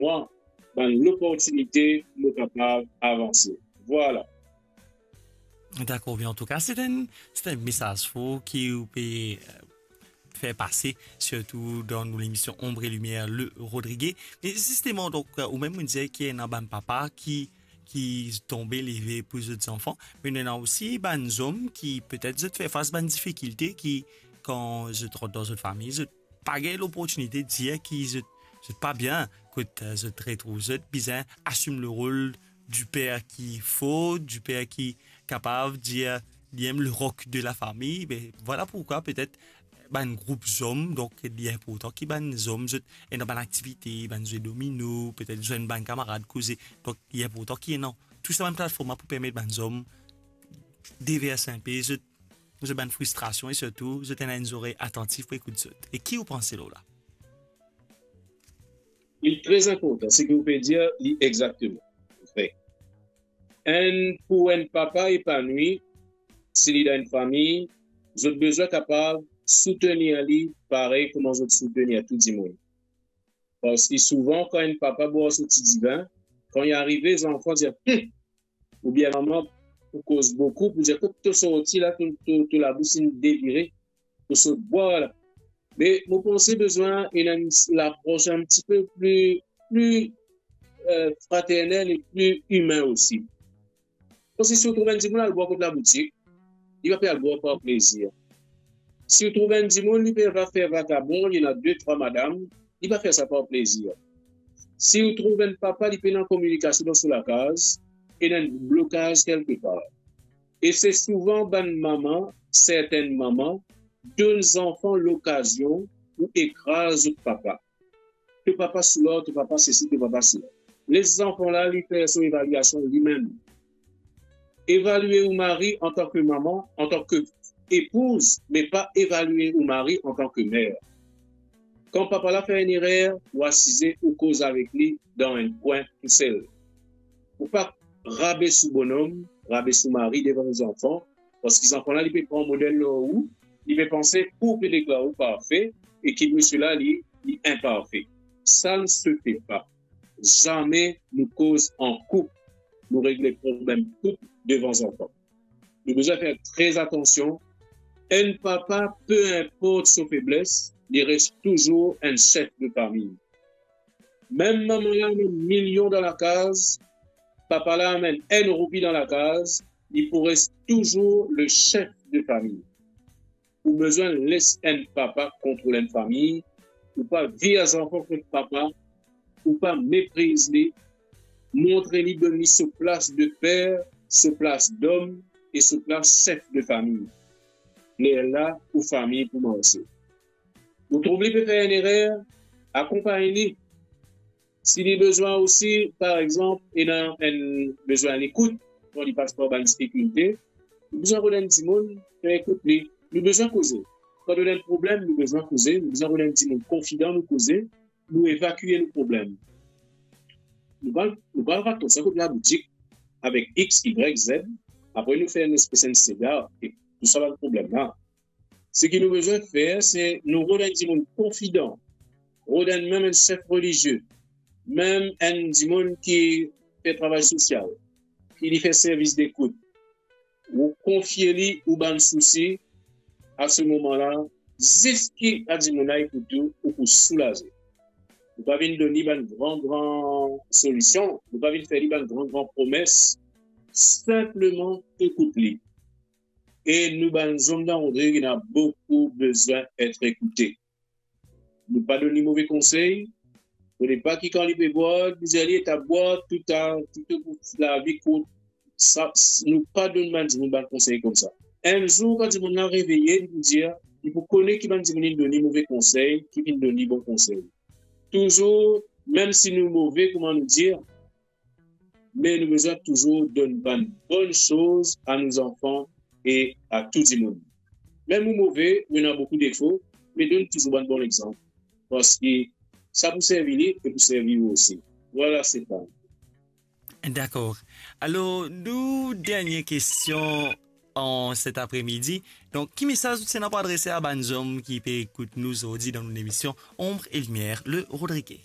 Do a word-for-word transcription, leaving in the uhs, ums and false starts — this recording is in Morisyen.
mwa bann loportinite pou mo kapav avanse. Vwala. Dakor, bien, antouka, se enn, se enn mesaz for ki ou pe, eh, fer pase, sirtou dan nou lemision Ombre et Lumière, Le Rodrigué. Me zisteman, donk, eh, ou mem, ou dir ki ena bann papa ki, ki tonbe leve pou zot zanfan, me ena osi bann zom ki, petet, zot fer fas bann difikilte ki, kan zot rant dan zot fami, zot pa gagn loportinite dir ki zot, zot pa bien, kot, eh, zot retrouv zot bizin asim le rol du père qu'il faut, du père ki kapav dir li mem le roc de la famille. Be, vwala pourkwa petet bann group zom, donk, li inportan ki bann zom, zot ena bann aktivite, bann zwe domino, petet zwenn bann kamarad, koze. Donk, li inportan ki ena tou sa bann platform la pou permet bann zom devers inpe zot, zot bann fristrasion e sirtou zot ena enn zorey atantif pou ekout zot. E ki ou panse lor la? Li tre inportan, seki ou pe dir, li exakteman vre. Enn, pou enn papa epanwi, si li dan enn fami, zot bizin kapav soutenir li parey kouma zot soutenir tou dimoun. Parski souvan, kan enn papa bwar so ti divin, kan li arive, zanfan dir, "Hum!" Oubien mama pou koz boukou, pou dir, "Kot to sorti la, to, to, to labous inn devire, to sot bwar la." Me mo panse bizin ena enn lapros enn tipe pli, pli, eh, fraternel e pli imin osi. Parski si ou trouv enn dimoun al bwar kot laboutik, li pa pe al bwar par plezir. Si ou trouv enn dimoun, li pe va fer vagabon, li ena de, trwa madam, li pa fer sa par plezir. Si ou trouv enn papa, li pena kominikasion dan so lakaz, ena enn blokaz kelkepar. E se souvan bann mama, sertenn mama, donn zanfan lokazion pou ekraz zot papa. To papa sou la, to papa sesi, to papa sela. Les zanfan la, li fer so evaliasion limem. Evalie ou mari antan ke mama, antan ke epouz, me pa evalie ou mari antan ke mer. Kan papa la fer enn erer, ou asize, ou koz avek li dan enn kwin tousel. Ou pa rabes ou bonom, rabes ou mari devan ou zanfan, parski zanfan la, li pe pran model lor ou, li pe panse ou pe deklar ou parfe, e ki misie la, li, li inparfe. Ça ne se fait pas. Zame nou koz an koup, nou regle problem koup devan zanfan. Nou bizin fer tre atansion. Enn papa, pe inport so febles, li res touzour enn sef de fami. Mem mama la amenn milion dan lakaz, papa la amenn enn roupi dan lakaz, li pou res touzour le sef de fami. Ou bizin les enn papa kontrol enn fami, ou pa vir zanfan kot papa, ou pa mepriz li, montre li, donn li so plas de per, so plas dom e so plas sef de fami. Lerla ou fami pou marse. Ou trouv li pe fer enn erer, akonpagn li. Si li bizin osi, par exanp, ena enn bizin lekout, kan li pas par bann difikilte, nou bizin rod enn dimoun pou ekout li. Nou bizin koze. Kan nou ena enn problem, nou bizin koze. Nou bizin rod enn dimoun konfidan, nou koze, nou evakie nou problem. Nou pa, nou pa al rat koumsa kot laboutik avek X, Y, Z, apre nou fer enn espes enn sega, e tou sa bann problem la. Seki nou bizin fer, se nou rod enn dimoun konfidan, rod enn mem enn sef relizie, mem enn dimoun ki fer travay sosial, ki li fer servis dekout. Ou konfie li ou bann sousi, a se moman la, ziska dimoun la ekout ou, ou pou soulaze. Nou pa vinn donn li bann gran, gran solision, nou pa vinn fer li bann gran, gran promes, sinpleman ekout li. E nou bann zom dan Rodrig, ena boukou bizin et ekoute. Nou pa donn li move konsey. Fode pa ki kan li pe bwar, bizin li eta bwar tou ta, tou, tou lavi kout. Sa, nou pa donn bann dimoun bann konsey koumsa. Enn zour, kan dimoun la reveye, li pou dir, li pou kone ki bann dimoun inn donn li move konsey, ki finn donn li bon konsey. Touzour, mem si nou move, kouma nou dir, me nou bizin touzour donn bann bonn soz a nou zanfan e a tou dimoun. Mem ou move, ou ena boukou defo, me donn touzour bann bon lexanp. Parski sa pou servi li e pou servi ou osi. Vwala, Stéphane. Dakor. Alor, nou dernie kestion an set apremidi. Donk, ki mesaz ou ti ena pou adrese a bann zom ki pe ekout nou zordi dan nou lemision Ombre et Lumière, Le Rodrigué?